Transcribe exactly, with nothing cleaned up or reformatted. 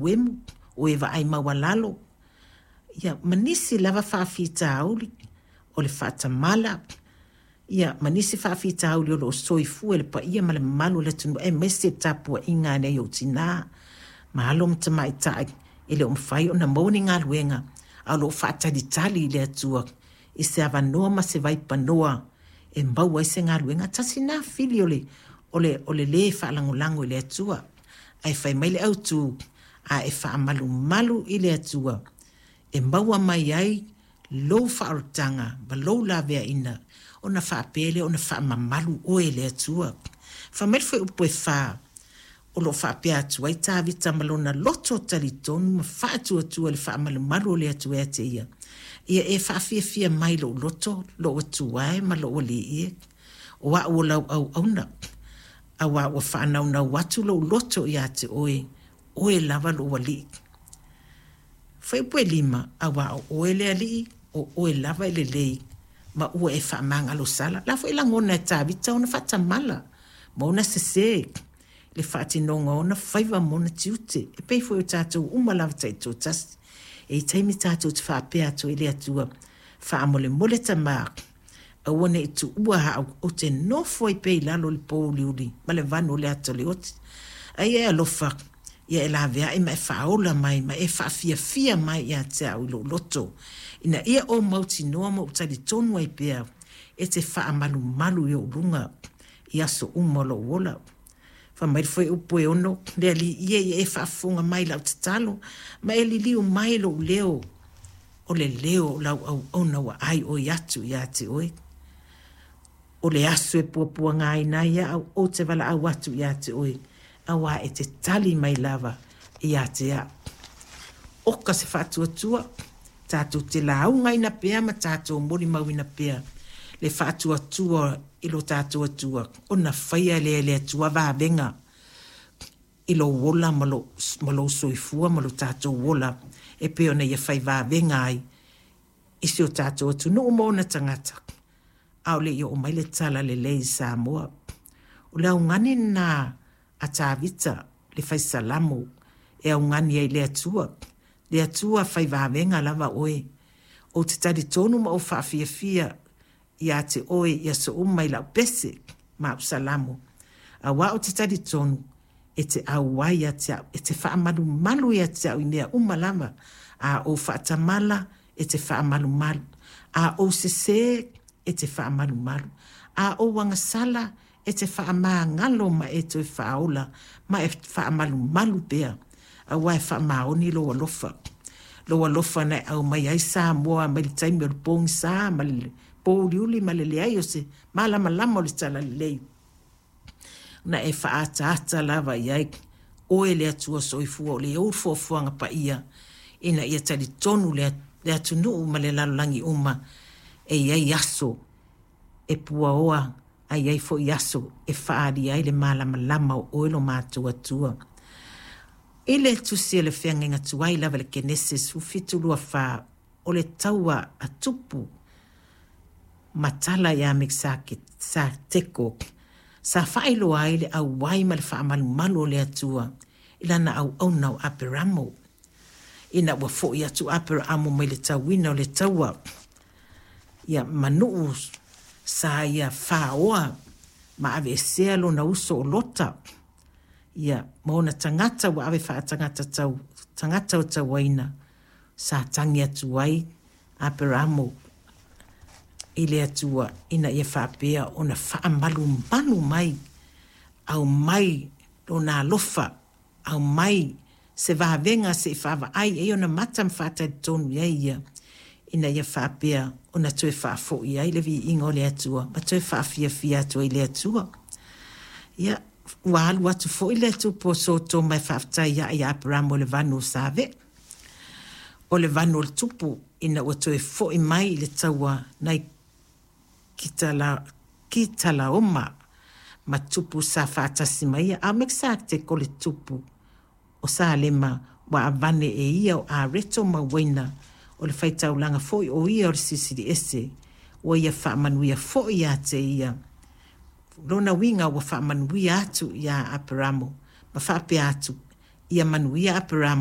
fauemu, o e vaai maualalo, ia ma nisi lava faafitauli o le faatamala, ia ma nisi faafitauli o lo o soifua i le paia ma le mamalu o le atunuu, aemaise le tapuaiga a nai ou tina ma alo ma tamaitai e le o mafai ona maua ni galuega, a o lo o faatalitali i le Atua i se avanoa ma se vaipanoa e maua ai se galuega. Tasi lena fili o le, o le, o le lē faalagolago i le Atua. Ae fai mai le autu, a e faamalumalu i le Atua e maua mai ai lou faaolataga ma lou laveaiina, ona faapea lea ona faamamalu oe e le Atua. Fai mai le fuaiupu e fa, o lo o faapea atu ai Tavita ma lona loto talitonu ma faatuatua i le faamalumalu o le Atua ia te ia, ia e faafiafia mai lou loto, lou Atua e ma lou Alii e, o au o lau auauna, auā ua faanaunau atu lou loto ia te oe, oe lava lou Alii. Fuaiupu e lima, auā o oe le Alii, o oe lava e lelei, ma ua e faamagalosala. La foi lagona e Tavita ona faatamala ma ona sesē le faatinoga o ona faiva ma ona tiute, e pei foi o tatou uma lava taitoatasi. E i ai taimi tatou te faapea atu ai i le Atua, faamolemole Tama, aua ne i tuua au, ou te nofo ai pea i lalo o le pouliuli ma le vanu o le ata o le oti. Ai e alofa, ia e laveai ma e faaola mai ma e faafiafia mai ia te au i lou loto, ina ia ou mautinoa ma ou talitonu ai pea e te faamalumalu i ou luga i aso uma o lou ola. Fai mai le fuaiupu e ono, le Alii ia ia e faafofoga mai i lau tatalo, ma e liliu mai lou leo, o le leo o lau auauna ua ai oi atu ia te oe. O le aso e puapuagaina ai au, ou te valaau atu ia te oe, auā e te tali mai lava ia te au. Oka se faatuatua, tatou te laugaina pea ma tatou molimauina pea le faatuatua i lo tatou Atua, ona faia lea e le Atua vavega i lou ola ma lou, ma lou soifua ma lo tatou ola, e pei ona ia fai vavega ai i si o tatou atunuu ma ona tagata, a o le i oo mai le tala lelei i Samoa. O le augani lena a Tavita le fai salamo e augani ai i le Atua. Le Atua fai vavega lava oe. Ou te talitonu ma ou faafiafia ia te oe i aso uma i lau pese ma au salamo, auā ou te talitonu e te auai ia te au, e te faamalumalu ia te au i mea uma lava. A ou faatamala, e te faamalumalu. A ou sesē, e te faamalumalu. A ou agasala, e te faamagalo ma e toe faaola ma e faamalumalu pea, auā e faamaoni lou alofa. Lou alofa na e aumai ai Samoa mai le taimi o le pogisa ma le pouliuli ma le leai o se malamalama o le talalelei, na e faaataata lava i ai oe le Atua soifua o le ou foafoaga paia, ina ia talitonu le, le atunuu ma le lalolagi uma e i ai aso e puaoa, a i ai foi aso e faaalia ai le malamalama o oe lo matou Atua. I le tusi a le feagaiga tuai lava i le Kenese sefulufitu lua fa, o le taua a Tupu ma tala ia Mekisateko, sa faailoa ai le auai ma le faamalumalu o le Atua i lana auauna o Aperamo. Ina ua foi atu Aperamo mai le tauina o le taua, ia manuu sa ia faoa ma aveesea lona uso o Lota, ia ma ona tagata ua ave faatagata tau, tagata o tauaina, sa tagi atu ai Aperamo i le Atua ina ia faapea ona faamalumalu mai, aumai lona alofa, aumai se vavega se i faavaai ai ona mata ma faatalitonu i ai ia, ina ia faapea ona toe faafoi ai le viiga o le Atua ma toe faafiafia atu ai le Atua. Ia, ua alu atu foi le tupu o Sotoma e faafetai ai ia Aperamo i le vanu o Save, o le vanu o le tupu, ina ua toe foi mai i le taua nai Kitala, Kitalaoma ma tupu sa faatasi mai ia, a o Mekisateko le tupu o Salema ua avane e ia o Areto ma Uaina, o le faitaulaga foi o ia o le Silisili Ese, ua ia faamanuia foi ia te ia. Lona uiga ua faamanuia atu ia Aperamo ma faapea atu, ia manuia Aperamo